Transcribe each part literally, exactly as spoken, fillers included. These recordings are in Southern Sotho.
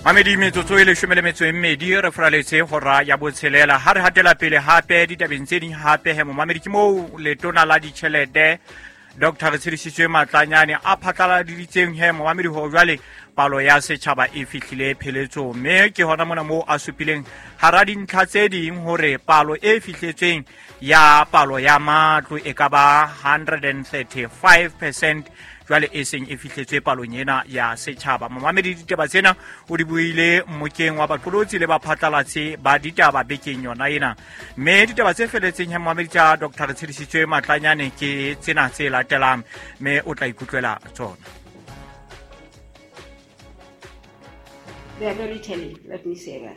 Mamedi, metsotso e leshome le metso e mmedi re furaletse hora ya botshelela. Ha re hatela pele hape ditabeng tse ding hape he momamedi, ke moo letona la ditjhelete Doctor Retshedisitswe Matlanyane a phatlaladitseng he momamedi hore jwale palo ya setjhaba e fihlile pheletsong, mme ke hona mona moo a supileng hara dintlha tse ding hore palo e fihletsweng ya palo ya matlo e ka ba hundred and thirty-five percent jwale e seng e fihletswe palong ena ya setjhaba. Momamedi, ditaba tsena o di buile mmokeng wa baqolotsi le baphatlalatsi ba ditaba bekeng yona ena, mme ditaba tse feletseng he momamedi tsa Doctor Retshedisitswe Matlanyane ke tsena tse latelang, mme o tla ikutlwela tsona. They are very telling, let me say that.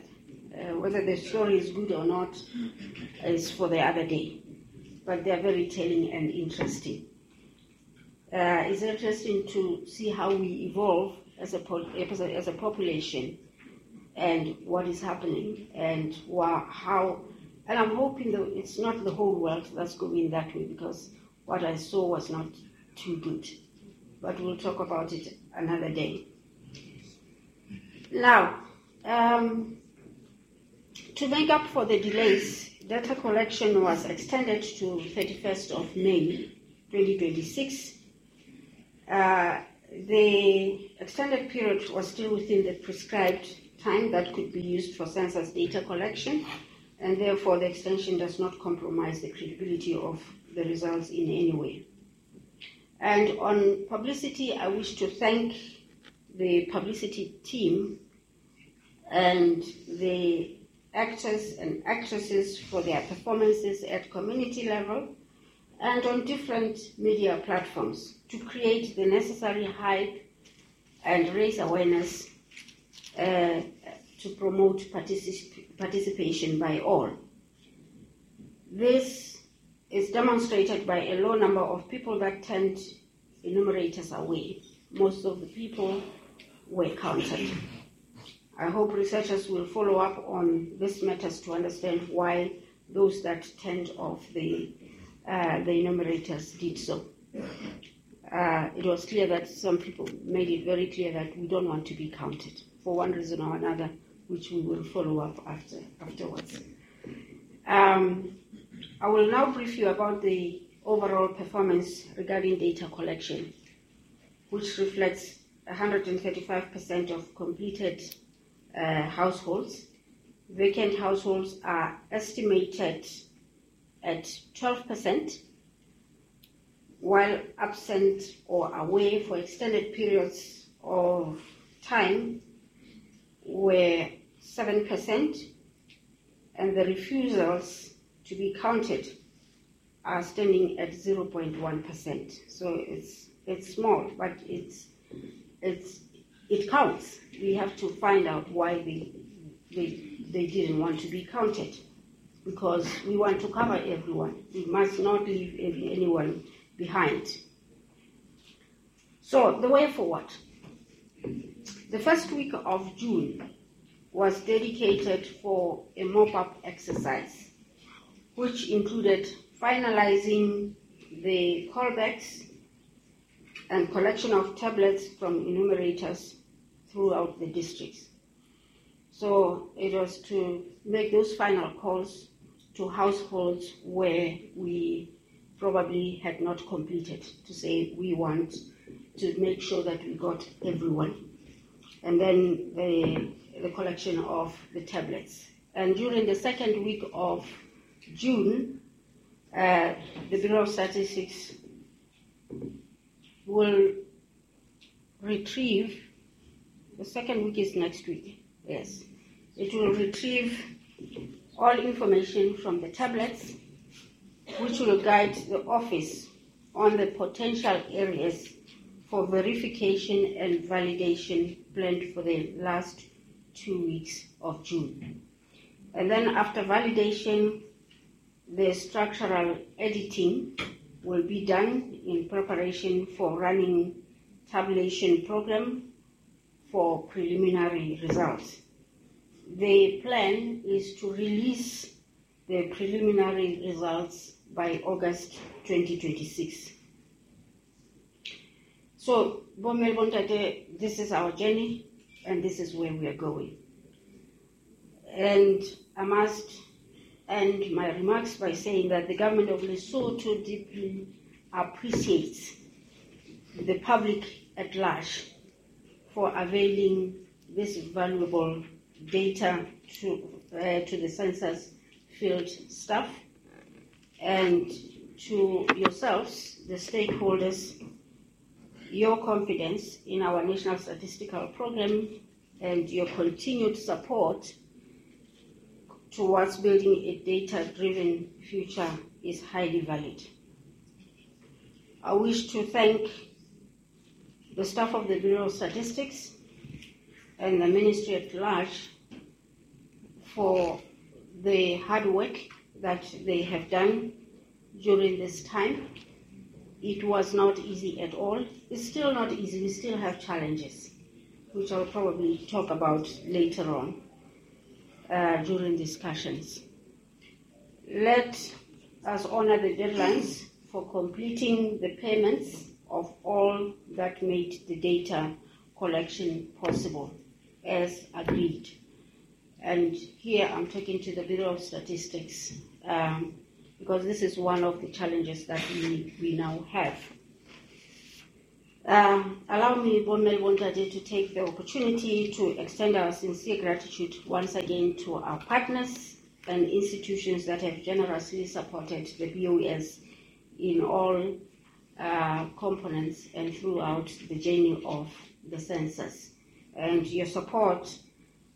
Uh, whether the story is good or not is for the other day, but they are very telling and interesting. Uh, it's interesting to see how we evolve as a, po-, as a, as a population and what is happening and wha-, how, and I'm hoping that it's not the whole world that's going that way, because what I saw was not too good. But we'll talk about it another day. Now, um, to make up for the delays, data collection was extended to thirty-first of May twenty twenty-six. Uh, the extended period was still within the prescribed time that could be used for census data collection, and therefore the extension does not compromise the credibility of the results in any way. And on publicity, I wish to thank the publicity team and the actors and actresses for their performances at community level and on different media platforms to create the necessary hype and raise awareness, uh, to promote particip- participation by all. This is demonstrated by a low number of people that turned enumerators away. Most of the people were counted. I hope researchers will follow up on these matters to understand why those that turned off the, uh, the enumerators did so. Uh, it was clear that some people made it very clear that we don't want to be counted for one reason or another, which we will follow up after, afterwards. Um, I will now brief you about the overall performance regarding data collection, which reflects a hundred and thirty-five percent of completed, uh, households. Vacant households are estimated at twelve percent, while absent or away for extended periods of time were seven percent, and the refusals to be counted are standing at zero point one percent. So it's, it's small, but it's, it's, it counts. We have to find out why they, they, they didn't want to be counted, because we want to cover everyone. We must not leave anyone behind. So the way forward. The first week of June was dedicated for a mop-up exercise, which included finalizing the callbacks and collection of tablets from enumerators throughout the districts. So it was to make those final calls to households where we probably had not completed, to say we want to make sure that we got everyone. And then the, the collection of the tablets. And during the second week of June, uh, the Bureau of Statistics will retrieve, the second week is next week, yes. It will retrieve all information from the tablets, which will guide the office on the potential areas for verification and validation planned for the last two weeks of June. And then after validation, the structural editing will be done in preparation for running tabulation program for preliminary results. The plan is to release the preliminary results by August twenty twenty-six. So, Bommel Bontate, this is our journey. And this is where we are going. And I must end my remarks by saying that the government of Lesotho deeply appreciates the public at large for availing this valuable data to, uh, to the census field staff and to yourselves, the stakeholders, your confidence in our national statistical program and your continued support towards building a data-driven future is highly valid. I wish to thank the staff of the Bureau of Statistics and the Ministry at large for the hard work that they have done during this time. It was not easy at all. It's still not easy. We still have challenges, which I'll probably talk about later on uh, during discussions. Let us honor the deadlines for completing the payments of all that made the data collection possible, as agreed. And here I'm talking to the Bureau of Statistics, um, because this is one of the challenges that we, we now have. Uh, allow me, Bommel Bontate, to take the opportunity to extend our sincere gratitude once again to our partners and institutions that have generously supported the B O S in all uh, components and throughout the journey of the census. And your support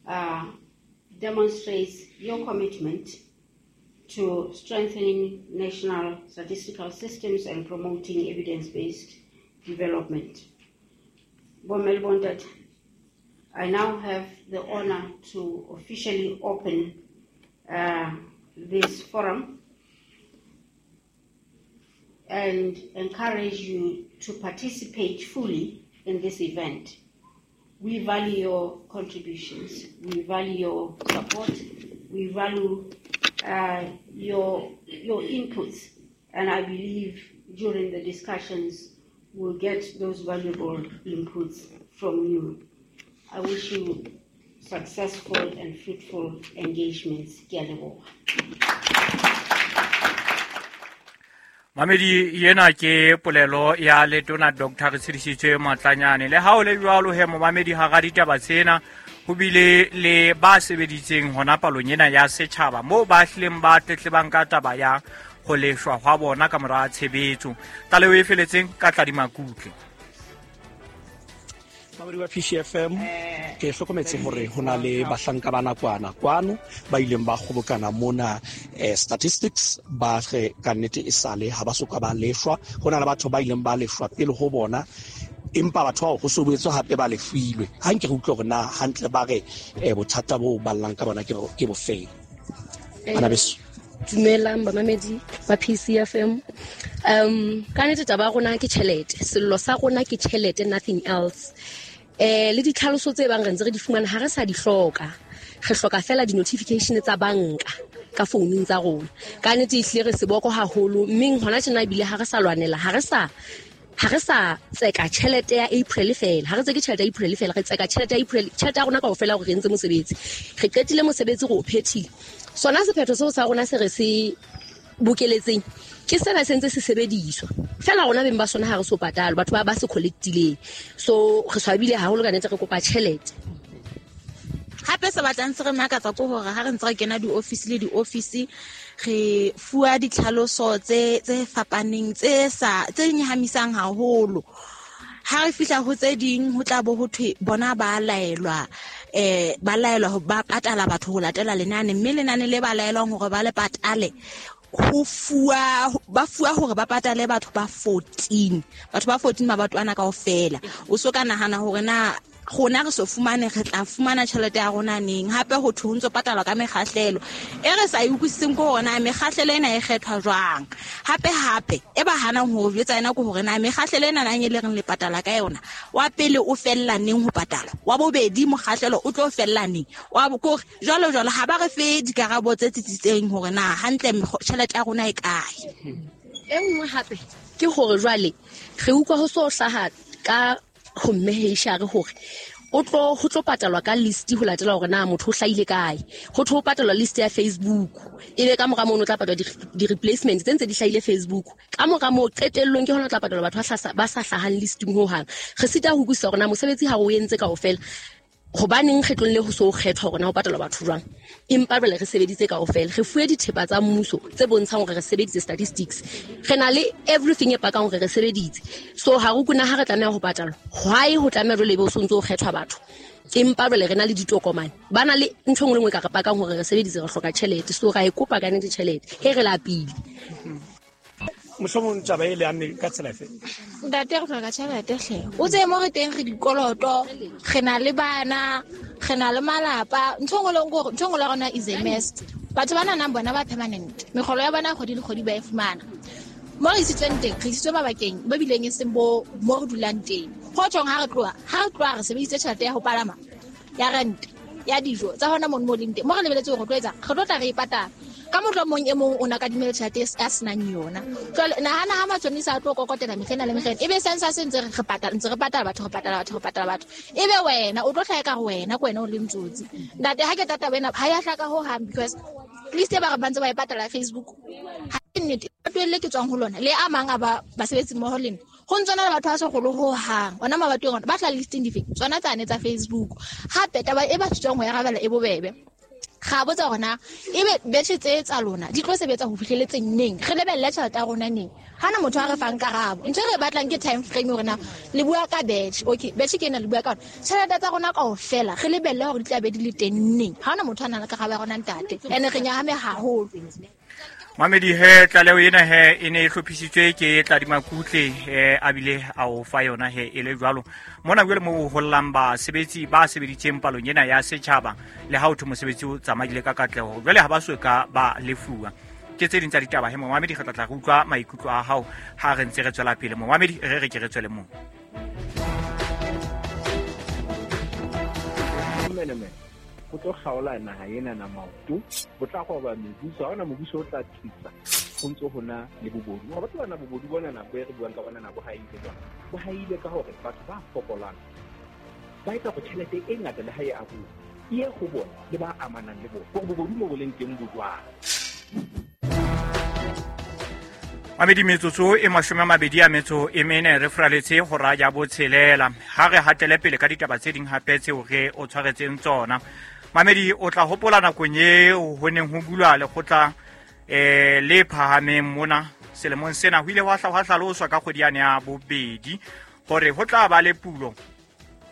uh, demonstrates your commitment to strengthening national statistical systems and promoting evidence-based development. Bommel Bontate, I now have the honor to officially open uh, this forum and encourage you to participate fully in this event. We value your contributions, we value your support, we value uh, your, your inputs, and I believe during the discussions we'll get those valuable inputs from you. I wish you successful and fruitful engagements. Ke a leboha. Mamedi yena ke polelo ya letona Doctor Retshidisitswe Matlanyane. Le ha o le jwalo he momamedi hara ditaba tsena ho bile le ba sebeditseng hona palong ena ya setjhaba moo ba hlileng ba tletlebang ka taba ya ho leshwa hwa bona ka mora tshebetso. Tlaleho e feletseng ka Tladima Kutle. Mamedi wa P C F M, ke hlokometse hore ho na le bahlanka ba nakwana kwano ba ileng ba kgobokana mona eh, statistics ba re ka nnete e sale ha ba soka ba leshwa. Ho na le batho ba ileng ba leshwa pele ho bona, empa batho bao ho so boetswe hape ba lefilwe. Ha nke re utlwe hore na hantle ba re eh, bothata bo ballang ka bona ke ke bofeng. Bana beso. Dumelang bamamedi ba P C F M. Um ka nnete taba ya rona ke tjhelete. Sello sa rona ke tjhelete, nothing else. Eh le ditlhaloso tse bang re ntse re di fumana ha re sa di hloka. Re hloka fela di-notification tsa banka ka founung tsa rona. Ka nnete ehlile re seboko haholo, mme hona tjena ebile ha re sa lwanela, ha re sa ha re sa tseka tjhelete ya April fela. Ha re tseke tjhelete ya April fela, re tseka tjhelete ya April, tjhelete ya rona kaofela hore re entse mosebetsi. Re qetile mosebetsi re o phethile. Sona sephetho seo sa rona se re se bokeletseng ke sena se ntse se sebediswa fela rona beng ba sona ha re so patalo, batho ba ba se collectileng. So re swabile haholo ka nnete, re kopa tjhelete. Hape se batlang se re makatsa ke hore ha re ntse re kena di-office le di-office re fuwa ditlhaloso tse tse fapaneng tse sa tse nyahamisang haholo. Ha re fihla ho tse ding ho tla bo ho thwe bona ba laelwa eh ba laelwa ho ba patala batho ho latela lenane, mme lenane le ba laelwang hore ba le patale ho fuwa ba fuwa hore ba patale batho ba fourteen, batho ba fourteen mabato ana kaofela. O so ka nahana hore na rona re so fumane re tla fumana tjhelete ya rona neng. Hape ho thwe ho ntso patalwa ka mekgahlelo e re sa e utlwisiseng ke hore na mekgahlelo ena e kgethwa jwang. Hape hape e ba hanang ho jwetsa yena ke hore na mekgahlelo ena nang e le reng le patala ka yona, wa pele o fella neng ho patala, wa bobedi mokgahlelo o tlo fella neng, wa kore jwalo jwalo. Ha ba re fe dikarabo tse tsitsitseng hore na hantle tjhelete ya rona e kae. E nngwe hape ke hore jwale re utlwa ho so hlaha ka ho mme H R hore O tlo ho tlo patalwa ka list ho latela hore na motho o hlahile kae. Ho tlo patalwa list ya Facebook. Ebe ka mora mono tla patalwa di replacement tse ntse di hlahile Facebook. Ka mora moo qetellong ke hona tla patalwa batho ba ba sa hlahang listing ho hang. Re sita ho utlwisisa hore na mosebetsi ha o entse kaofela. Hobaneng kgetlong le ho so kgethwa hore na ho patalwa batho jwang. Empa jwale re sebeditse kaofela. Re fuwe dithepa tsa mmuso tse bontshang hore re sebeditse statistics. Re na le everything e pakang hore re sebeditse. So ha re kuna ha re tlameha ho patalwa. Why ho tlameha jwale ebe o sontso o kgethwa batho? Empa jwale re na le ditokomane. Ba na le ntho e nngwe le nngwe ka re pakang hore re sebeditse, re hloka tjhelete. So ra e kopa ka nnete tjhelete. He re lapile. Mohlomong taba e le amme ka tsela efe? Ntate re hloka tjhelete hle. O tsebe mo re teng re dikoloto, re na le bana, re na le malapa. Ntho engwe le nngwe, ntho engwe le rona is a mess. Batho ba nang bona ba permanent. Mekgolo ya bona kgwedi le kgwedi ba e fumana. Mo re isitsweng teng, re isitswe mabakeng ba bileng e seng bo mo re dulang teng. Ho tjhong ha re tloha, ha re tloha re sebedisitse tjhelete ya ho palama, ya rent, ya dijo tsa hona mono mo leng teng. Mo re lebeletse hore re tlo etsa, re tlo tla re e patala. Ka mohlomong e mong o na kadimile tjhelete a senang yona. Jwale nahana ha matjhonisa a tlo kokotela mehlena le mehlena, ebe sense se ntse re patala, ntse re patala batho, re patala batho, re patala batho. Ebe wena o tlo hlaha ka re wena ke wena o le ntsotsi. Ntate ha ke tata wena ha ya hlaka ho hang because list e ba re bantse ba e patala Facebook. Ha ke nnete batho le ke tswang ho lona le a mang a ba basebetsi mmoho le nna. Ho ntsona le batho ba segolo ho hang. Ona mabatong ona ba tla listing dife? Tsona tsane tsa Facebook. Hape taba e ba tswang ho ya rabela e bobebe. Ga botsa hore na ebe betjhe tse tsa lona di tlo sebetsa ho fihleletseng neng, re lebelle tjhelete ya rona neng. Ha na motho a re fang karabo. Ntho e re batlang ke time frame hore na le bua ka batch. Okay, batch ke ena le bua ka yona. Tjhelete tsa rona kaofela re lebelle hore di tla be di le teng neng. Ha na motho a nang le karabo ya rona ntate. Ene re nyahame haholo. Mamedi he tlaleho ena he e ne e hlophisitswe ke Tladima Kutle eh a bile a o fa yona he e le jwalo. Mona jwale mo ho hollang basebetsi ba sebeditseng palong ena ya setjhaba le ha o thwe mosebetsi o tsamaile ka katleho. Jwale ha ba so ka ba lefuwa. Ke tse ding tsa ditaba he momamedi, re tla tla re utlwa maikutlo a hao ha re ntse re tswela pele. Momamedi re re ke re tswele moo. Menemene go tlo kgaola naha ena na maoto, bo tla goba mebuso, ha hona mobuso o tla thusa go ntse ho na le bobodu. Wa batho bana bobodu bona na bo re buang ka bona na bo haile jwang? Bo haile ka hore batho ba fokolang ba etsa go tjhelete e ngata le ha e abuwa e ye go bona le ba amanang le bona, gore bobodu mo bo leng teng bo jwang. Mamedi metsotso e mashome a mabedi a metso e mene re fraletse hora ya botshelela. Ha re hatele pele ka ditaba tse ding hape tseo re o tshwaretseng tsona. Mamedi o tla hopola nakong eo ho neng ho bulwa lekgotla eh le phahameng mona selemong sena, ho ile hwa hla hwa hlaloswa ka kgwedi yane ya bobedi hore ho tla ba le pulo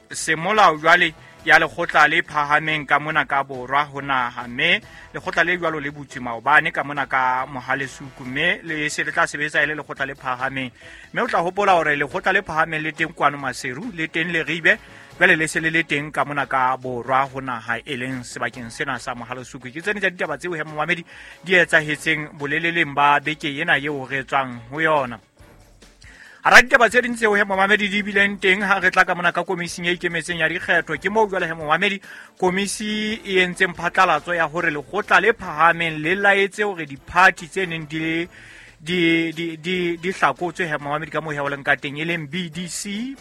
semolao jwale ya lekgotla le phahameng ka mona ka borwa ho naha, mme lekgotla le jwalo le butswe maobane ka mona ka Mohalesuku, mme le se le tla sebetsa e le lekgotla le phahameng. Mme o tla hopola hore lekgotla le phahameng le teng kwano Maseru, le teng Leribe, jwale le se le le teng ka mona ka borwa ho naha e leng sebakeng sena sa Mohalesuku. Ke tsene tsa ditaba tseo he momamedi di etsahetseng boleleleng ba beke ena eo re tswang ho yona. Hara ditaba tse ding tseo he momamedi di bileng teng ha re tla ka mona ka komising e ikemetseng ya dikgetho, ke moo jwale he momamedi komisi e entseng phatlalatso ya hore lekgotla le phahameng le laetse hore diphathi tse neng di di di di di hlakotswe he momamedi ka moo he o leng ka teng, e leng B D C,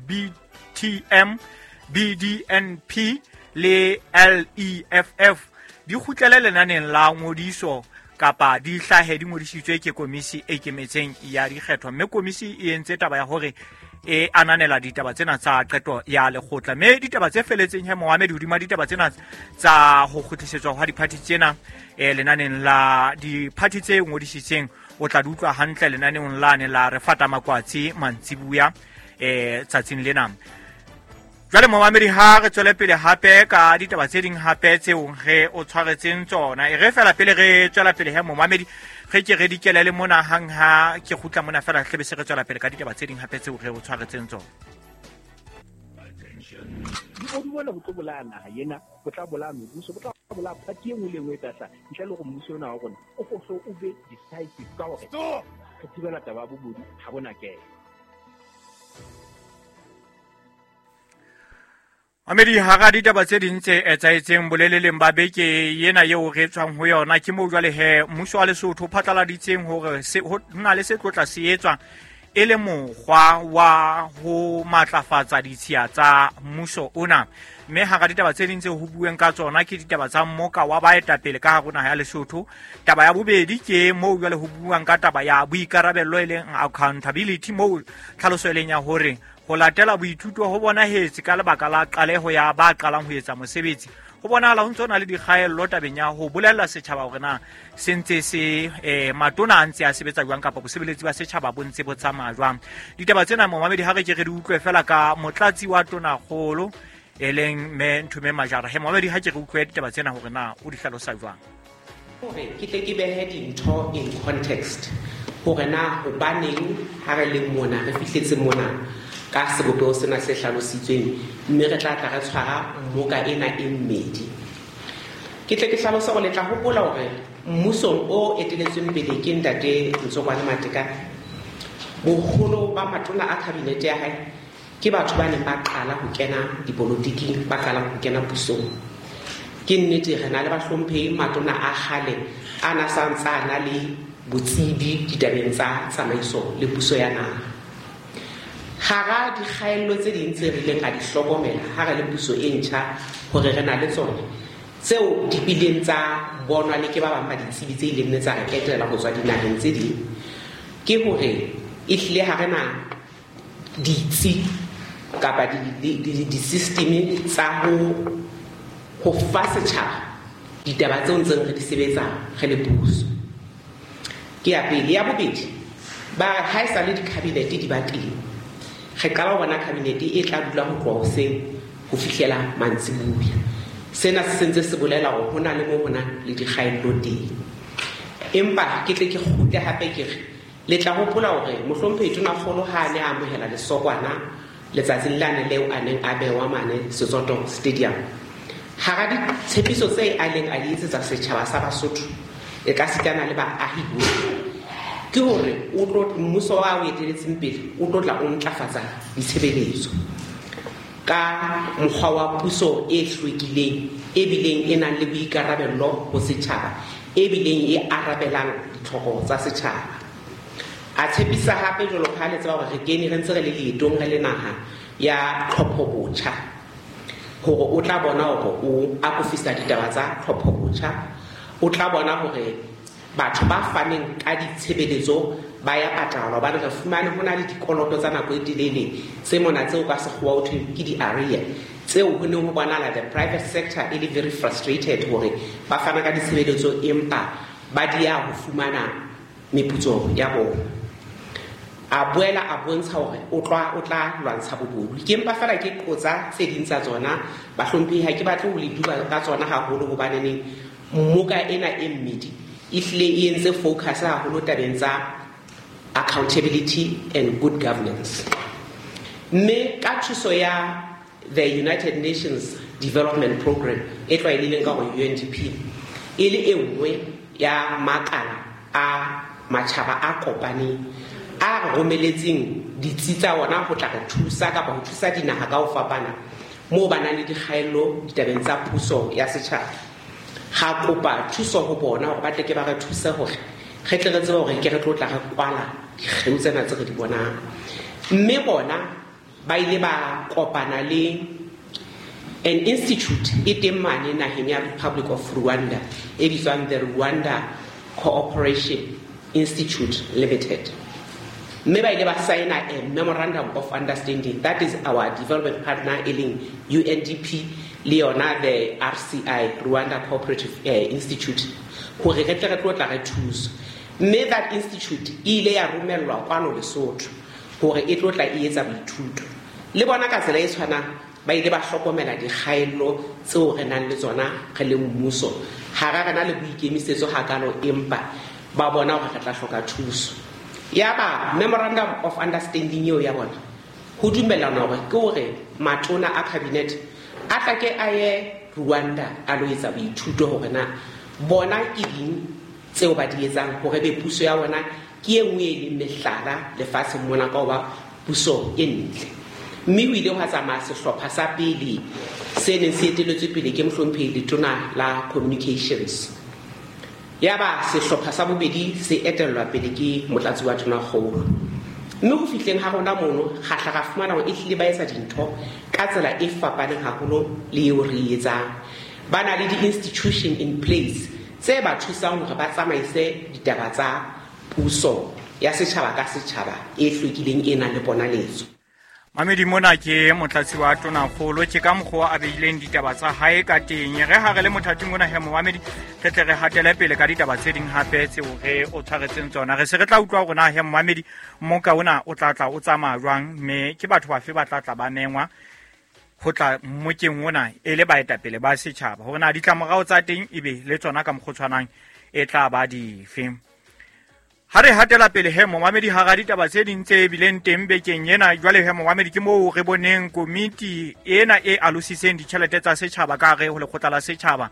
B T M, B D N P le L E F F di kgutlele lenaneng la ngodiso kapa di hlahe di ngodisitswe ke komisi e ikemetseng ya dikgetho. Mme komisi e entse taba ya hore e ananela ditaba tsena tsa qeto ya lekgotla, mme ditaba tse feletseng he momamedi hodima ditaba tsena tsa ho kgutlisetswa hwa diphathi tsena e lenaneng la diphathi tse ngodisitseng o tla di utlwa hantle lenaneong lane la re fata makwatsi mantsibuya eh tsatsing lena. Jwale momamedi ha re tswele pele hape ka ditaba tse ding hape tseo re o tshwaretseng tsona. E re fela pele re tswela pele he momamedi re ke re dikelele mona hang ha ke kgutla mona fela hle be se re tswela pele ka ditaba tse ding hape tseo re o tshwaretseng tsona. Bobodu bona bo tlo bolaya naha ena, bo tla bolaya mebuso, bo tla bolaya party e nngwe le e nngwe e tla hlaha. Ntle le hore mmuso ona wa rona o hlo o be decisive ka hore re thibela taba ya bobodu ha bona kena. Mamedi hara ditaba tse ding tse etsahetseng boleleleng ba beke ena eo re tswang ho yona, ke moo jwale he mmuso wa Lesotho o phatlaladitseng hore ho na le se tlo tla se etswa e le mokgwa wa ho matlafatsa ditshiya tsa mmuso ona. Mme hara ditaba tse ding tse ho bueng ka tsona ke ditaba tsa mmoka wa baetapele ka hare ho naha ya Lesotho. Taba ya bobedi ke moo jwale ho buang ka taba ya boikarabello e leng accountability, moo tlhaloso e leng ya hore ho latela boithuto ho bonahetse ka lebaka la qaleho ya ba qalang ho etsa mosebetsi. Ho bonahala ho ntse ho na le dikgaello tabeng ya ho bolella setjhaba hore na se ntse se eh, matona a ntse a sebetsa jwang kapa bosebeletsi ba setjhaba bo ntse bo tsamaya jwang. Ditaba tsena momamedi ha re ke re di utlwe fela ka motlatsi wa tonakgolo e leng mme Nthume Majara. He momamedi ha ke re utlwe ditaba tsena hore na o di hlalosa jwang. Hore ke tle ke behe dintho in context hore na hobaneng ha re le mona re fihletse mona ka sebopeho sena se hlalositsweng, mme re tla tla re tshwara mmoka ena e mmedi. Ke tle ke hlalose hore le tla hopola hore mmusong o eteletsweng pele ke ntate Ntsokoane Matekane, boholo ba matona a kabinete ya hae ke batho ba neng ba qala ho kena dipolotiking, ba qalang ho kena pusong. Ke nnete re na le bahlomphehi matona a kgale a na sa ntse a na le botsebi ditabeng tsa tsamaiso le puso ya naha. Hara dikgaello tse ding tse re ileng ra di hlokomela ha re le puso e ntjha hore re na le tsona, tseo di bileng tsa bonwa le ke ba bang ba ditsebi tse ileng tsa re etela ho tswa dinaheng tse ding, ke hore ehlile ha re na ditsi kapa di-system tsa ho ho fa setjhaba ditaba tseo ntseng re di sebetsa re le puso. Ke ya pele. Ya bobedi, ba ha e sa le di-cabinet di ba teng, re qala ho bona cabinet e tla dula ho tloha hoseng ho fihlela mantsiboya. Sena se sentse se bolela hore ho na le moo ho nang le dikgaello teng. Empa ke tle ke kgutle hape ke re le tla hopola hore mohlomphehi Tonakgolo ha a ne a amohela lesokwana letsatsing lane leo a neng a bewa mane Setsoto Stadium, hara ditshepiso tse a leng a di etsetsa setjhaba sa Basotho e ka sitana le baahi bohle, ke hore o tlo mmuso wa o eteletseng pele o tlo tla o ntlafatsa ditshebeletso ka mokgwa wa puso e hlwekileng, e bileng e nang le boikarabello ho setjhaba, e bileng e arabelang ditlhoko tsa setjhaba. A tshepisa hape jwalo ka ha le tseba hore re kene re ntse re le leetong re le naha ya tlhopho botjha, hore o tla bona hore o akofisa ditaba tsa tlhopho botjha, o tla bona hore batho ba faneng ka ditshebeletso ba ya patalwa, hobane re fumane ho na le dikoloto tsa nako e telele tse mona tseo ka sekgowa ho thweng ke di-area, tseo ho neng ho bonahala the private sector e le very frustrated hore ba fana ka ditshebeletso empa ba dia ho fumana meputso ya bona. A boela a bontsha hore o tla o tla lwantsha bobodu. Ke mpa fela ke qotsa tse ding tsa tsona, bahlomphehi ha ke batle ho le duba ka tsona haholo hobaneneng mmoka ena e mmedi ehlile e entse focus haholo tabeng tsa accountability and good governance. Mme ka thuso ya the United Nations Development Programme e tlwaelehileng ka hore U N D P, e le e nngwe ya makala a matjhaba a kopaneng a re romeletseng ditsi tsa ona ho tla re thusa kapa ho thusa dinaha ka ho fapana moo ba nang le dikgaello ditabeng tsa puso ya setjhaba. Ga kopa thuso ho bona hore ba tle ke ba re thuse hore re tle re tsebe hore ke re tlo tla re kwala dikgeo tsena tse re di bonang. Mme bona ba ile ba kopana le an institute e teng mane naheng ya Republic of Rwanda e bitswang the Rwanda Cooperation Institute Limited. Mme ba ile ba signa a memorandum of understanding, that is our development partner e leng U N D P le yona the R C I, Rwanda Cooperative uh, Institute, hore re tle re tlo tla re thuso. Mme that institute e ile ya romellwa kwano Lesotho hore e tlo tla e etsa boithuto. Le bona ka tsela e tshwanang ba ile ba hlokomela dikgaello tseo re nang le tsona re le mmuso. Ha ra rena le boikemisetso hakalo, empa ba bona hore re tla hloka thuso. Ya ba memorandum of understanding eo ya bona ho dumellana hore ke hore matona a cabinet a tla ke a ye Rwanda a lo etsa boithuto hore na bona ke ding tseo ba di etsang hore be puso ya bona ke e nngwe e leng mehlala lefatsheng mona ka hoba puso e ntle. Mme ho ile hwa tsamaya sehlopha sa pele se neng se eteletswe pele ke mohlomphehi Letona la Communications. Ya ba sehlopha sa bobedi se etellwa pele ke motlatsi wa Tonakgolo. Mme ho fihleng ha rona mono ga tla ra fumana hore ehlile ba etsa dintho ka tsela e fapaneng haholo le eo re e etsang. Ba na le di-institution in place tse ba thusang hore ba tsamaise ditaba tsa puso ya setjhaba ka setjhaba e hlwekileng e nang le ponaletso. Mamedi mona ke motlatsi wa tonakgolo ke ka mokgwa a beileng ditaba tsa hae ka teng. Re ha re le mothating ona he momamedi re tle re hatele pele ka ditaba tse ding hape tseo re o tshwaretseng tsona. Re se re tla utlwa hore na he momamedi mmoka ona o tla tla o tsamaya jwang, mme ke batho bafe ba tla tla ba mengwa ho tla mmokeng ona e le baetapele ba setjhaba, hore na ditlamorao tsa teng ebe le tsona ka mokgwa o tshwanang e tla ba dife. Ha re hatela pele he momamedi hara ditaba tse ding tse bileng teng bekeng ena, jwale he momamedi ke moo re boneng komiti ena e alositseng ditjhelete tsa setjhaba ka hare ho lekgotla la setjhaba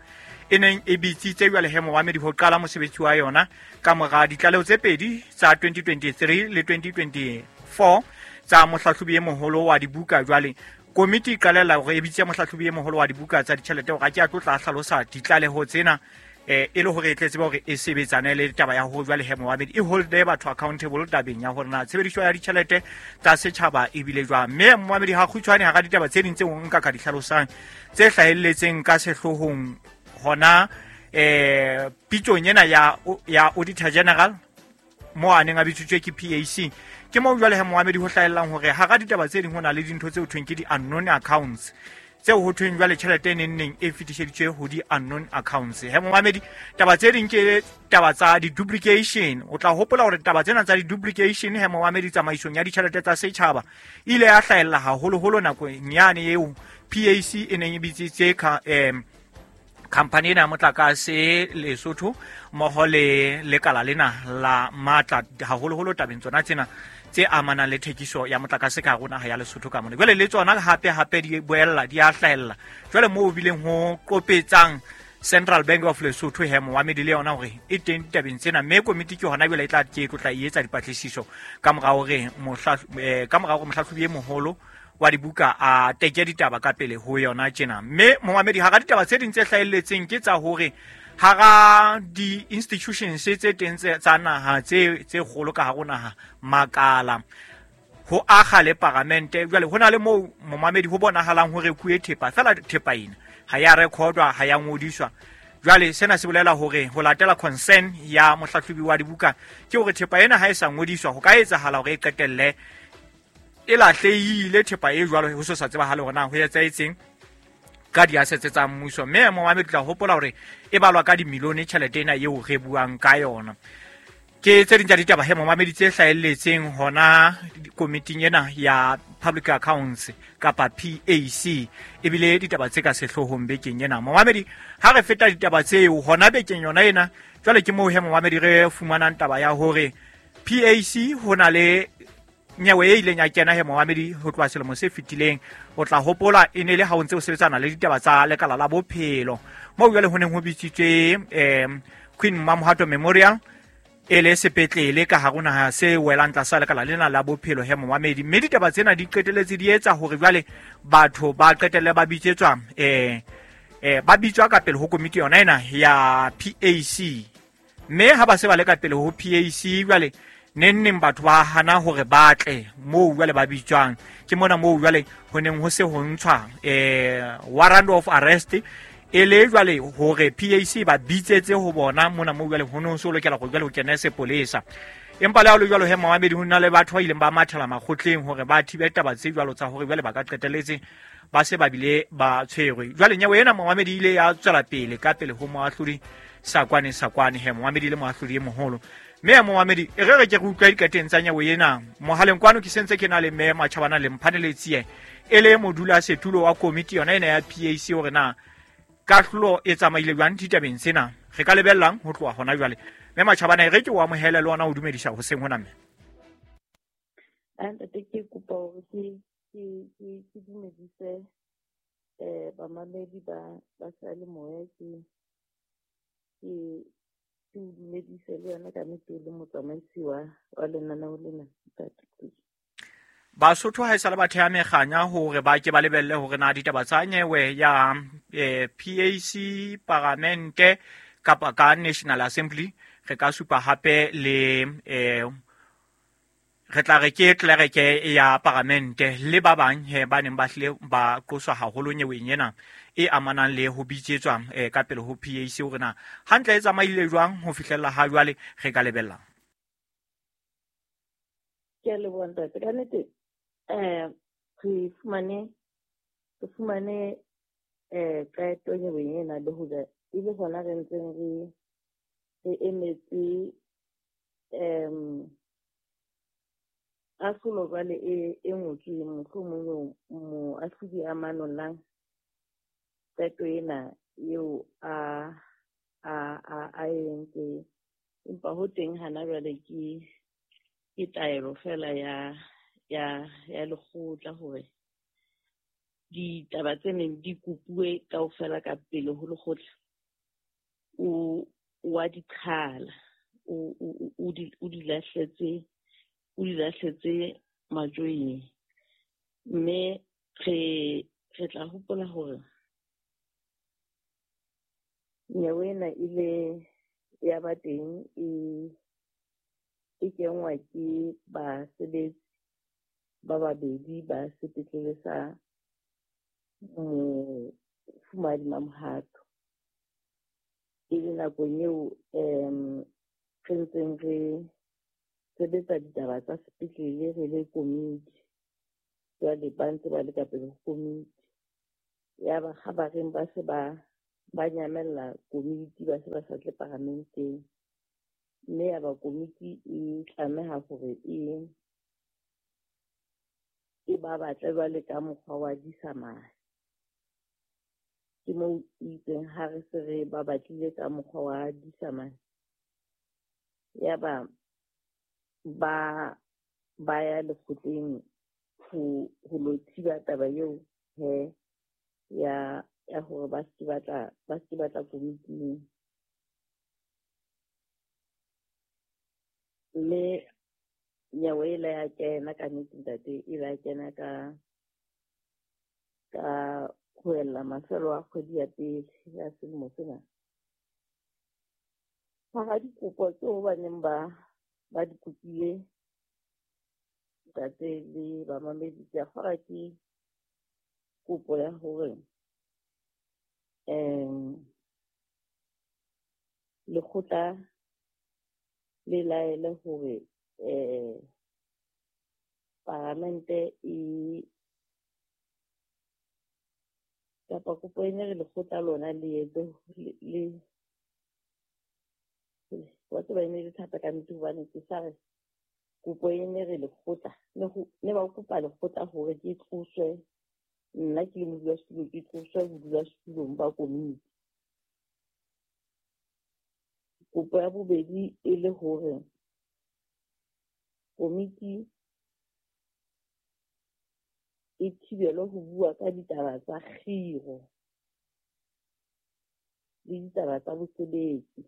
e neng e bitsitse jwale he momamedi ho qala mosebetsi wa yona ka mora ditlaleho tse pedi tsa twenty twenty-three le twenty twenty-four tsa mohlahlobi e moholo wa dibuka. Jwale komiti e qalella hore e bitse mohlahlobi e moholo wa dibuka tsa ditjhelete hore a ke a tlo tla hlalosa ditlaleho tsena eh e le hore e tle tsebe hore e sebetsane le taba ya ho jwale he momamedi e holde batho accountable tabeng ya hore na tshebediso ya ditjhelete tsa setjhaba e bile jwang. Mme momamedi ha kgutshwane hara ditaba tse ding tseo nka ka di hlalosang tse hlahelletseng ka sehloohong hona eh pitsong ena ya ya Auditor General mo a neng a bitsitswe ke P A C, ke mo jwale he momamedi ho hlahellang hore hara ditaba tse ding ho na le dintho tse ho thweng ke di-unknown accounts tseo ho thweng jwale tjhelete e neng neng e fetiseditswe ho di-unknown accounts. He momamedi taba tse ding ke taba tsa di-duplication. O tla hopola hore taba tsena tsa di-duplication he momamedi tsamaisong ya ditjhelete tsa setjhaba e ile ya hlahella haholoholo nakong yane eo P A C e neng e bitsitse um khampani ena ya motlakase Lesotho mmoho le lekala lena la matla haholoholo tabeng tsona tsena tse amanang le thekiso ya motlakase ka hare ho naha ya Lesotho ka mona. Jwale le tsona hape hape di boella di a hlahella jwale moo bileng ho qopetsang Central Bank of Lesotho he momamedi le yona hore e teng ditabeng tsena, mme komiti ke hona jwale e tla ke tlo tla e etsa dipatlisiso ka mora hore ka mora hore mohlahlobi e moholo wa dibuka a teke ditaba ka pele ho yona tjena. Mme momamedi hara ditaba tse ding tse hlahelletseng ke tsa hore hara di-institutions tse teng tsa naha tse tse kgolo ka hare ho naha makala ho akga le paramente, jwale ho na le moo momamedi ho bonahalang ho rekuwe thepa fela thepa ena ha ya recordwa, ha ya ngodiswa. Jwale sena se bolela hore ho latela concern ya mohlahlobi wa dibuka ke hore thepa ena ha e sa ngodiswa ho ka etsahala hore e qetelle e lahlehile thepa e jwalo ho so sa tsebahale hore na ho etsahetseng ka di-assets tsa mmuso. Mme momamedi tla hopola hore e balwa ka dimilione tjhelete ena eo re buang ka yona. Ke tse ding tsa ditaba he momamedi tse hlahelletseng hona komiting ena ya Public Accounts kapa P A C, ebile ditaba tse ka sehloohong bekeng ena. Momamedi ha re feta ditaba tseo hona bekeng yona ena, jwale ke moo he momamedi re fumanang taba ya hore P A C ho na le nyewe e ileng ya kena he momamedi ho tloha selemo se fetileng. O tla hopola e ne le ha o ntse o sebetsana le ditaba tsa lekala la bophelo moo jwale ho neng ho bitsitswe um Queen Mamohato Memorial e le sepetlele ka hare ho naha se welang tlasa lekala lena la bophelo he momamedi. Mme ditaba tsena di qetelletse di etsa hore jwale batho ba qetelle ba bitsetswa eh eh ba bitswa ka pele ho komiti yona ena ya P A C. Mme ha ba se ba le ka pele ho P A C jwale neng neng batho ba hana hore ba tle moo jwale ba bitswang, ke mona moo jwale ho neng ho se ho ntshwa eh warrant of arrest e le jwale hore P A C ba bitsetse ho bona mona moo jwale ho no so lokela go jwale ho kena sepolesa. Empa le ha le jwalo he momamedi ho na le batho ba ileng ba mathela makgotleng hore ba thibe taba tse jwalo tsa hore jwale ba ka qetelletse ba se ba bile ba tshwerwe. Jwale nyewe ena momamedi ile ya tswela pele ka pele ho moahlodi Sakwane Sakwane he momamedi le moahlodi e moholo. Mme momamedi e re re ke re utlwa dikateng tsa nyewe ena mohaleng kwano ke sentse ke na le mme Matjhabana le Mphaneletsie e le modula setulo wa komiti yona ena ya P A C hore na kahlolo e tsamaile jwang ditabeng tsena re ka lebellang ho tloha hona jwale. Mme Matjhabana e re ke o amohele le ona o dumedisa hoseng hona mme. Ntate ke kopa hore ke ke ke ke dumedise eh bamamedi ba ba seyalemoya ke ke ke o dumedise le yona ka nnete le motsamaisi wa wa lenaneo lena ntate. Basotho ha e sale ba theha mekganya hore ba ke ba lebelle hore na ditaba tsa nyewe ya eh, P A C paramente kapa ka National Assembly re ka supa hape le eh, Re tla re ke tlelereke ya paramente le ba bang he ba neng ba hlile ba qoswa haholo nyeweng ena e amanang le ho bitsetswa eh, ka pele ho P A C hore na hantle e tsamaile jwang ho fihlella ha jwale re ka lebella. Ke a leboha ntate. Ka nnete eh re fumane re fumane eh qeto nyeweng ena le hore e le hona re ntseng re re emetse em ahlolo jwale e e ngotsweng mohlomong moahlodi a manollang qeto ena eo a a a a entse, empa ho teng hana jwale ke ke taelo fela ya ya ya lekgotla hore ditaba tse neng di kopuwe kaofela ka pele ho lekgotla o wa di qhala, o o di o di lahletse o di lahletse majweng. Mme re re tla hopola hore nyewe ena ile ya ba teng e e kenngwa ke basebetsi ba babedi ba sepetlele sa Mofumahadi Mamohato. E le nakong eo um re ntseng re sebetsa ditaba tsa sepetlele re le komiti. Jwale ba ntse ba le ka pele ho komiti. Yaba kgabareng ba se ba ba nyamella komiti, ba se ba sa tle paramenteng. Mme yaba komiti e tlameha hore e e ba batle jwale ka mokgwa wa disamane. Ke moo itseng ha re se re ba batlile ka mokgwa wa disamane, yaba ba ba ya lekgotleng ho ho lo thiba taba eo he ya ya hore ba se batla ba se batla komiting. Mme nyewe e la ya kena ka nnete ntate, e la kena ka ka ho ella mafelo a kgwedi ya pele ya selemo sena. Hara dikopo tseo ba neng ba ba di kopile ntate le bamamedi, ke a kgolwa ke kopo ya hore um lekgotla le laele hore eh paramente e kapa kopo ene re lekgotla lona le etse le wa tseba ene le thata ka nnete hobane ke sa re kopo ene re lekgotla ne ho ne ba kopa lekgotla hore ke tloswe nna ke le modulasetulo, ke tloswe bodulasetulong ba komiti. Kopo ya bobedi e le hore komiti e thibelwe ho bua ka ditaba tsa kgiro le ditaba tsa bosebetsi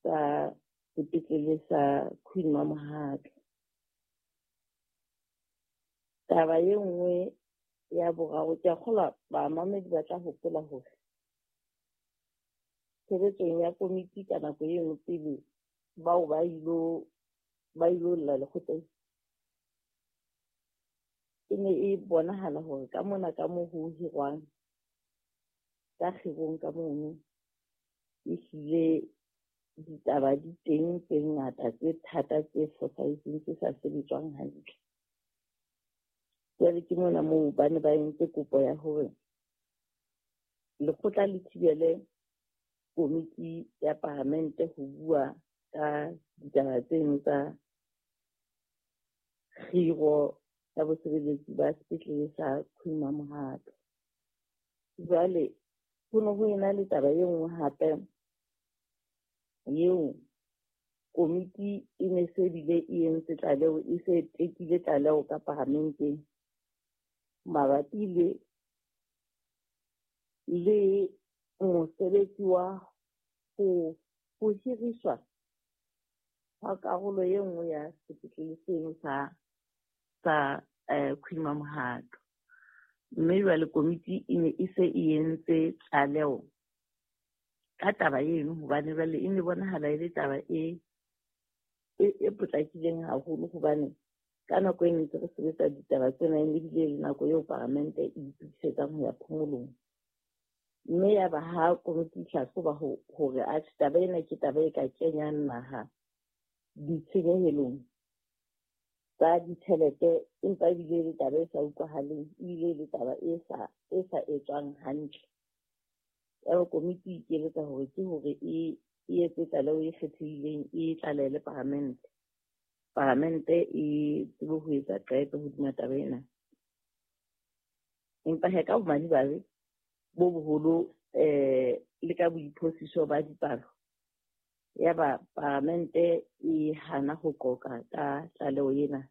tsa sepetlele sa Queen Mamohato. Taba e nngwe ya boraro, ke a kgolwa bamamedi ba tla hopola hore tshebetsong ya komiti ka nako e nngwe pele bao ba ilo ba ilo lla lekgotleng, e ne e bonahala hore ka mona ka moo ho hirwang ka kgirong ka mono, ehlile ditaba di teng tse ngata tse thata tse fosahetseng tse sa sebetswang hantle. Jwale ke mona moo ba ne ba entse kopo ya hore lekgotla le thibele komiti ya paramente ho bua ka ditaba tseno tsa kgiro ya bosebeletsi ba sepetlele sa Queen Mamohato. Jwale ho ne ho ena le taba e nngwe hape eo komiti e ne se bile e entse tlaleho, e se tekile tlaleho ka paramenteng mabapi le le mosebetsi wa ho ho hiriswa ha karolo e nngwe ya sepetlele seno sa sa eh Queen Mamohato. Mme jwale komiti e ne e se e entse tlaleho ka taba eno, hobane jwale e ne bonahala e le taba e e potlakileng haholo hobane ka nako e ntse re sebetsa ditaba tsena e ebile le nako eo paramente e itokisetsang ho ya phomolong. Mme ya ba ha komiti e hlahloba hore atjhe taba ena ke taba e ka kenyang naha ditshenyehelong tsa ditjhelete, empa ebile e le taba e sa utlwahaleng, ebile e le taba e sa e sa etswang hantle. Yaba komiti e ikeletsa hore ke hore e e etse tlaleho e kgethehileng e tlalehele paramente. Paramente e tsebe ho etsa qeto hodima taba ena. Empa he ka bomadimabe bo boholo eh le ka boiphosiso ba dipalo, yaba paramente e hana ho qoqa ka tlaleho ena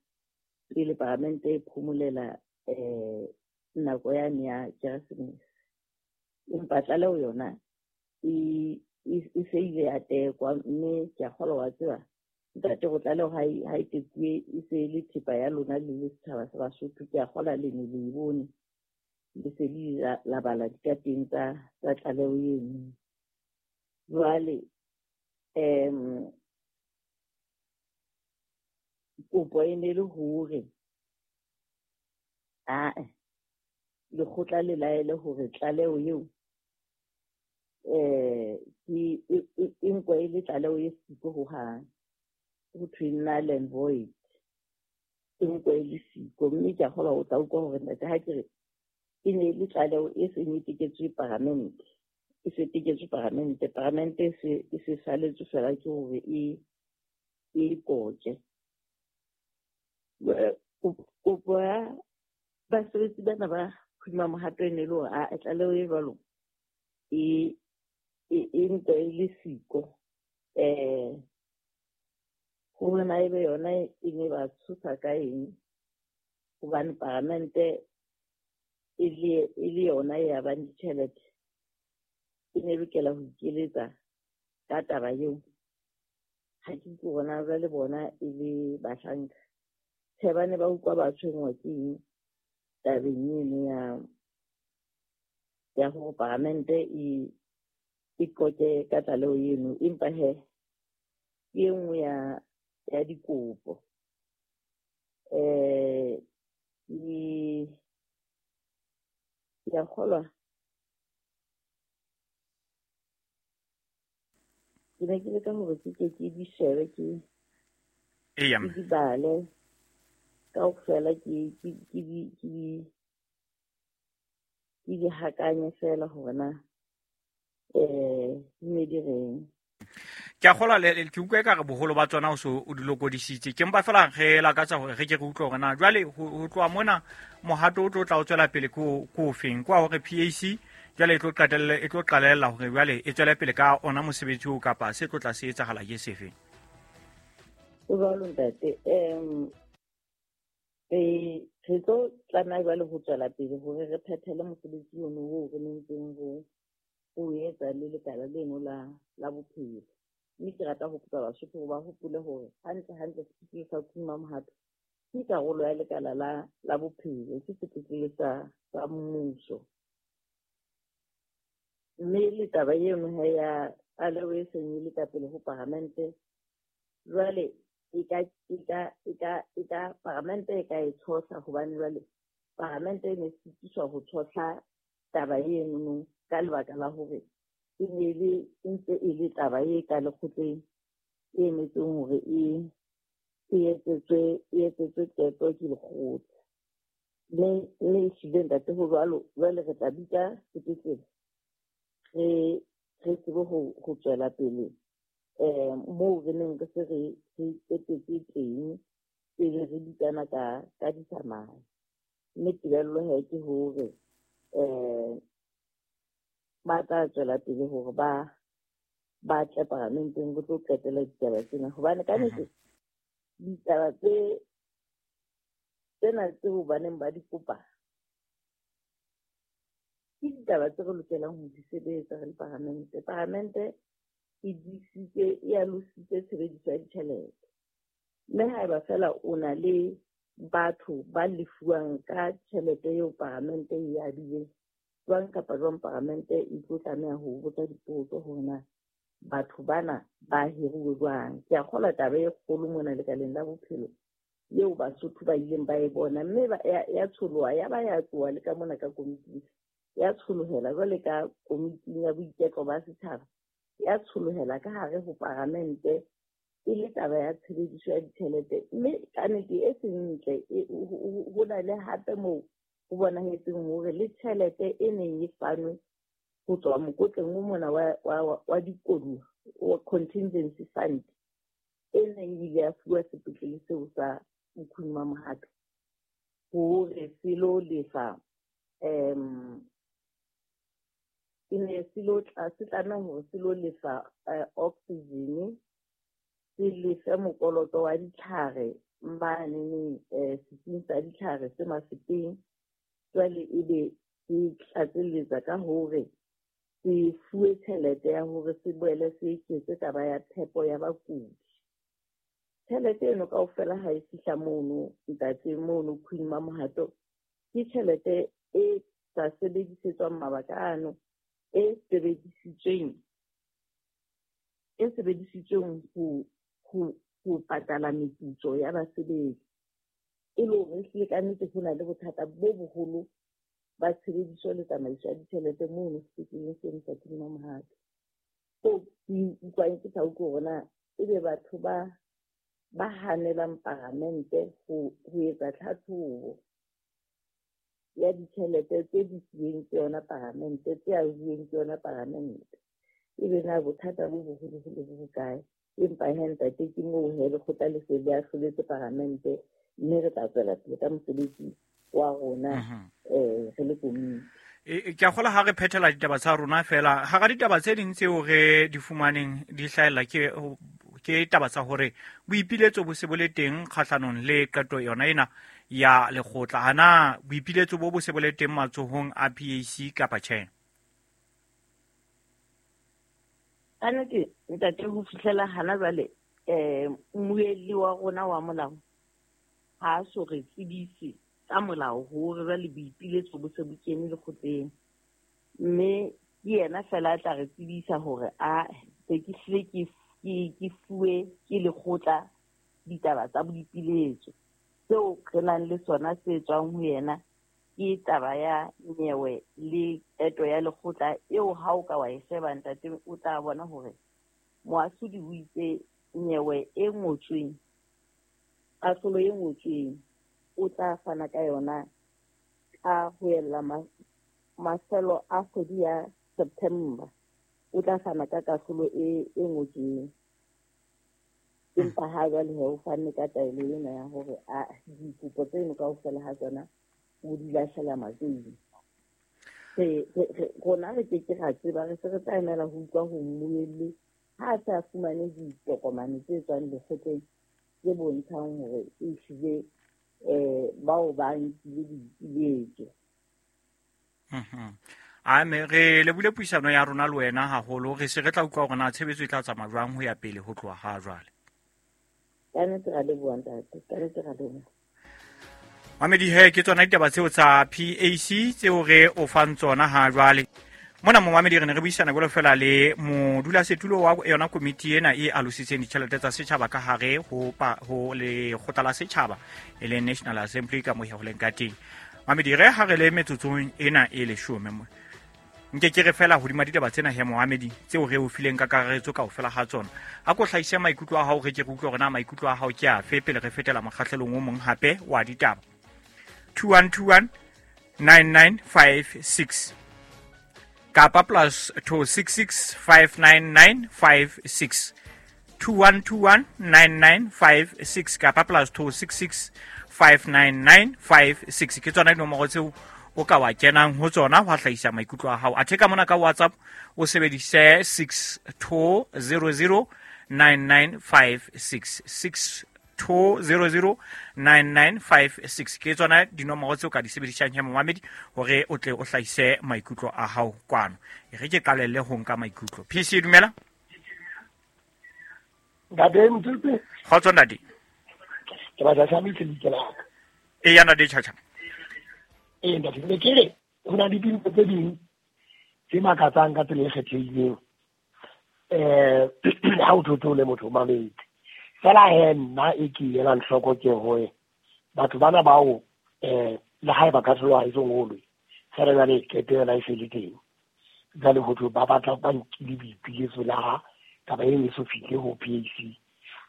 pele paramente e phomolela eh nako yane ya Keresemese. Empa tlaleho yona e e se ile ya tekwa, mme ke a kgolwa wa tseba ntate go tlaleho ha e ha e tekuwe e se le thepa ya lona le le setjhaba sa Basotho. Ke a kgolwa le ne le e bone, le se le la bala dikateng tsa tsa tlaleho eno. Jwale um kopo e ne le hore ae lekgotla le laele hore tlaleho eo eh ke e nkwe e le tlaleho e siko hohang, ho thwe null and void, e nkwe e le siko. Mme ke a kgolwa o tla utlwa hore ntate ha ke re e ne le tlaleho e seng e teketswe paramente, e se teketswe paramente, paramente e se e se saletswe fela ke hore e e koke. Kopo ya basebetsi bana ba hodima mohato e ne le hore a tlaleho e jwalo e e nkwe e le siko. Eh hore na ebe yona e ne ba tshosa ka eng, hobane paramente e le e le yona e abang ditjhelete, e ne lokela ho ikeletsa ka taba eo. Ha ke utlwe hore jwale bona e le bahlanka tjhe, ba ne ba utlwa ba tshwenngwa ke eng tabeng eno ya ya hore paramente e e qoqe ka tlaleho eno. Empa he ke e nngwe ya ya dikopo eh ke ke a kgolwa ke ne ke leka hore ke ke ke di shebe ke Eya ke di bale kaofela, ke ke ke di ke di ke di hakanye fela hore na eh di ne di reng. Ke a kgolwa le ke utlwa ekare boholo ba tsona o so o di lokodisitse. Ke mpa fela re lakatsa hore re ke re utlwe hore na jwale ho tloha mona mohato o tlo tla o tswela pele ko ko ofeng, kwa hore P A C jwale e tlo qetelle e tlo qalella hore jwale e tswele pele ka ona mosebetsi oo kapa se tlo tla se etsahala ke sefe. O jwalo ntate, em re re tlo tlameha jwale ho tswela pele hore re phethele mosebetsi ono oo re nentseng ho o etsa le lekala leno la la bophelo. Mme ke rata ho kopa Basotho hore ba hopole hore hantle hantle sepetlele sa Khuma Mohato ke karolo ya lekala la la bophelo, ke sepetlele sa sa mmuso. Mme le taba eno he ya tlaleho e seng e le ka pele ho paramente, jwale e ka e ka e ka e ka paramente e ka e tshohla, hobane jwale paramente e ne sitiswa ho tshohla taba eno ka lebaka la hore e ne le e ntse e le taba e ka lekgotleng e emetseng hore e e etsetswe e etsetswe qeto ke lekgotla. Mme mme ehlile ntate ho jwalo, jwale re tla bitsa sepetlele re re tsebe ho ho tswela pele eh moo re neng re se re re qetetse teng pele re bitsana ka ka ditsamao. Mme tebello he ke hore eh ba tla tswela pele hore ba ba tle paramenteng go tlo qetela ditaba tsena, hobane ka nnete ditaba tse tsena tseo baneng ba di kopa ke ditaba tse re lokelang ho di sebetsa re le paramente. Paramente e disitse e alositse tshebediso ya ditjhelete, mme haeba fela o na le batho ba lefuwang ka tjhelete eo paramente e abileng, jwang kapa jwang paramente e tlo tlameha ho botsa dipotso hore na batho bana ba hiruwe jwang. Ke a kgolwa taba e kgolo mona lekaleng la bophelo eo Basotho ba ileng ba e bona, mme ya tsholoha ya ba ya tsoha le ka mona ka komiting, ya tsholohela jwale ka komiting ya boiketlo ba setjhaba, ya tsholohela ka hare ho paramente e le taba ya tshebediso ya ditjhelete. Mme ka nnete e seng ntle, ho na le hape moo ho bonahetseng hore le tjhelete e neng e fanwe ho tswa mokotleng o mona wa wa wa dikoduwa wa contingency fund e neng ile ya fuwa sepetlele seo sa Queen Mamohato hore se lo lefa um e ne se lo se tlameha hore se lo lefa oxygen, se lefe mokoloto wa ditlhare manene setsing sa ditlhare se Mafeteng. Jwale ebe se tlatselletsa ka hore se fuwe tjhelete ya hore se boele se eketse taba ya phepo ya bakudi. Tjhelete eno kaofela ha e fihla mono ntate mono Queen Mamohato, ke tjhelete e sa sebedisetswang mabaka ano, e sebedisitsweng e sebedisitsweng ho ho ho patala meputso ya basebetsi. E le hore ehlile ka nnete ho na le bothata bo boholo ba tshebediso le tsamaiso ya ditjhelete mono sepetleleng seno sa Queen Mamohato. So ke utlwang ke sa utlwe hore na ebe batho ba ba hanelang paramente ho ho etsa tlhatlhobo ya ditjhelete tse di fuweng ke yona paramente, tse ahuweng ke yona paramente, ebe na bothata bo boholoholo bo bokae? Empa he ntate, ke moo he lekgotla le se le ahloletse paramente, mme re tla tswela pele ka mosebetsi wa rona um re le komiti. Ke a kgolwa ha re phethela ditaba tsa rona fela, hara ditaba tse ding tseo re di fumaneng di hlahella ke ke taba tsa hore boipiletso bo se bo le teng kgahlanong le qeto yona ena ya lekgotla. Hana boipiletso bo bo se bo le teng matsohong a P A C kapa tjhe? Ka nnete ntate, ho fihlela hana jwale um mmuelli wa rona wa molao ha a so re tsebise ka molao hore jwale boipiletso bo se bo kene lekgotleng, mme ke yena fela a tla re tsebisa hore a se ke hlile ke ke fuwe ke lekgotla ditaba tsa boipiletso. Seo re nang le sona se tswang ho yena ke taba ya nyewe le qeto ya lekgotla eo ha o ka wa e sheba ntate, o tla bona hore moahlodi o itse nyewe e ngotsweng, kahlolo e ngotsweng o tla fana ka yona ka ho ella mafelo a kgwedi ya September, o tla fana ka kahlolo e e ngotsweng. Empa ha jwale he o fanne ka taelo ena ya hore a dikopo tseno kaofela ha tsona o di lahlela majoing. Rona re ke ke ra tseba, re se re tla emela ho utlwa ho mmuelli ha a se a fumane ditokomane tse tswang lekgotleng tse bontshang hore ehlile um bao ba nkile dipiletso. A me re lebule puisano ya rona le wena haholo, re se re tla utlwa hore na tshebetso e tla tsamaya jwang ho ya pele ho tloha ha jwale. Ka nnete ra leboha ntate, ka nnete ra leboha. Mamedi he, ke tsona ditaba tseo tsa P A C tseo re o fang tsona ha jwale. Mona momamedi re ne re buisana jwalo fela le modulasetulo wa yona komiti ena e alositseng ditjhelete tsa setjhaba ka hare ho ho lekgotla la setjhaba e leng National Assembly ka moya ho leng ka teng. Mamedi re ha re le metsotsong ena e leshome mo. Nke ke re fela hodima ditaba tsena he momamedi tseo re o fileng ka kakaretso kaofela ha tsona. A ko hlahise maikutlo a hao, re ke re utlwe hore na maikutlo a hao ke afe pele re fetela mokgahlelong o mong hape wa ditaba. two one two one nine nine five six kapa plus two six six five nine nine five six two one two one nine nine five six kapa plus two six six five nine nine five six ke tsona dinomoro tseo o ka wa kenang ho tsona ho hlahisa maikutlo a hao. Athe ka mona ka WhatsApp o sebedise six two zero zero nine nine five six six two zero zero nine nine five six ke tsona dinomoro tseo ka di sebedisang he momamedi hore o tle o hlahise maikutlo a hao kwano. E re ke qalelle ho nka maikutlo. P C dumela. Ntate Motsope. Kgotso ntate. Ke batla tsamaise lebitso la ka. E ya ntate Chacha. Ee ntate, ne ke re ho na le dintho tse ding tse makatsang ka tsela e kgethehileng. Eh ha o thotho le motho mametse. Fela he nna e ke elang hloko ke hore batho bana bao eh le ha ba ka tloha e songolwe. Fela jwale qeto yona e se le teng. Jwale ho thwe ba batla ba nkile boipiletso la ha taba eno e so fihle ho P A C.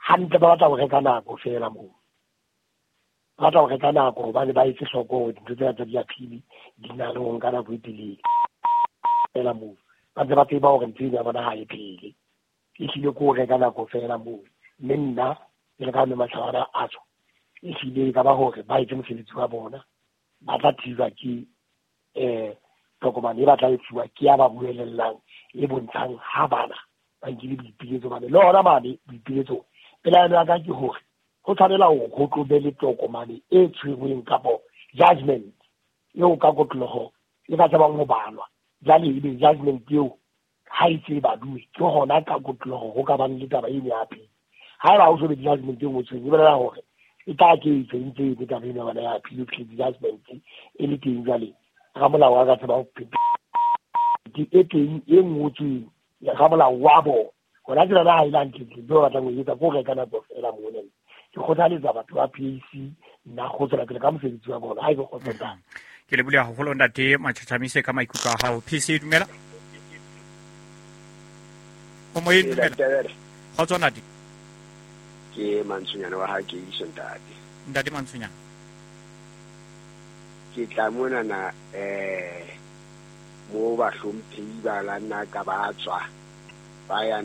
Hantle ba batla ho reka nako fela moo. Ba batla ho reka nako hobane ba etse hloko hore dintho tsena tsa di-appeal di na le ho nka nako e telele. Fela moo. Ba ntse ba tseba hore ntho eno ya bona ha e phele. Ehlile ke ho reka nako fela moo. Mme nna ke le ka mme Mahlabana a tswa. Ehlile e ka ba hore ba etse mosebetsi wa bona. Ba tla thijwa ke eh tokomane e ba tla e fuwa ke ya ba buelellang e bontshang ha bana ba nkile boipiletso bane. Le hona mane boipiletso pelaelo ya ka ke hore ho tshwanela hore ho tlo be le tokomane e tshwerweng kapo judgment eo ka kotloloho e ka tsebang ho balwa. Jwale ebe judgment eo ha e tse baduwe ke hona ka kotloloho ho ka bang le taba eno ya appeal. Haeba ho so be judgment e ngotsweng e bolela hore e tla ke e ntse e taba eno ya bona ya appeal judgment e le teng jwale ramolao wa ka tseba ho e teng e ngotsweng ya ramolao wa bona. Hona ke yona ha e le hantle ntho ba batlang ho etsa ke ho reka nako fela mona. Ke kgothaletsa batho ba P A C nna go tswela pele ka mosebetsi wa bona ha e be kgotsotsang. Ke lebohile haholo ntate Machachamise ka maikutlo a hao. P C dumela. O moyeng dumela. Kgotso ntate. Ke Mantsonyana wa ha ke iso ntate. Ntate Mantsonyana. Ke tla mona na eh mo bahlomphehi ba la nna ka ba tswa ba ya